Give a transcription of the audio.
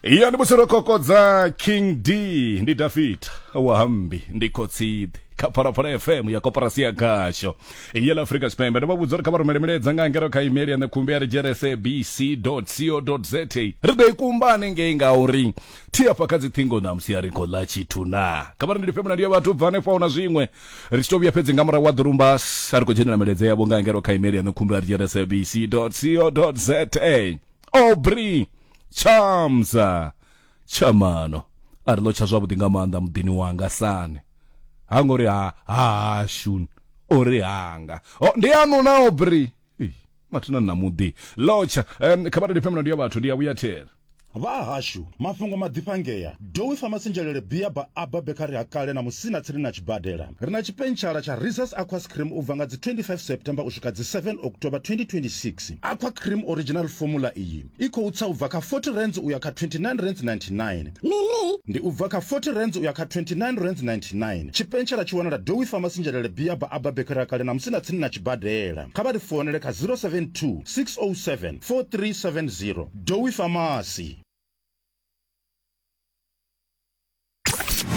Ya ndi musi ro kokodza King D, ndi David wa Hambi, ndi khotsiḓi kha Phalaphala FM ya koporasi ya khasho ya ḽa Afrika Tshipembe. Ndo vha vhudza uri kha vha rumele milaedza nga ngero kha email ya ṋekhumbi ya ri sabc co za. Ri ḓo i kumba hanengei ngauri thi afha kha dziṱhingo ṋamusi a ri khou ḽa tshithu na. Kha vha ri ndi lifhe mulandu ya vhathu bva hanefha hu na zwiṅwe ri tshi to vhuya fhedzi nga murahu wa ḓurumbas a ri khou dzhenela milaedza yavho nga ngero kha email ya ṋekhumbi ya ri sabc co za. Aubrey Chamza Tshamano a ri ḽo tsha zwavhuḓi nga maanḓa muḓini wanga sani ha ngori ha hashu ori hanga oh, ndi anu na Aubrey mathina na muḓi lotsha um, kha vha ri lifhe ya vhathu ndi ya vhuya thera. Vha hashu, mafhungo maḓifha ngea. Dowi Pharmacy Nzhelele Beer Bar Abba Bakery ha kale na Musina tsini na tshibadela. Ri na tshipentshala tsha Reese's Aquas Cream u bva nga dzi 25 September u swika dzi 7 October 2026. Aqua Cream Original Formula iyi i khou tsa u bva kha 40 rands u ya kha 29 rands 99. Mini? Ndi u bva kha 40 rands u ya kha 29 rands 99. Tshipentshala tshi wanala Dowi Pharmacy Nzhelele Beer Bar Abba Bakery ha kale na Musina tsini na tshibadela. Kha vha ri founele kha 072 607 4370. Dowi Pharmacy.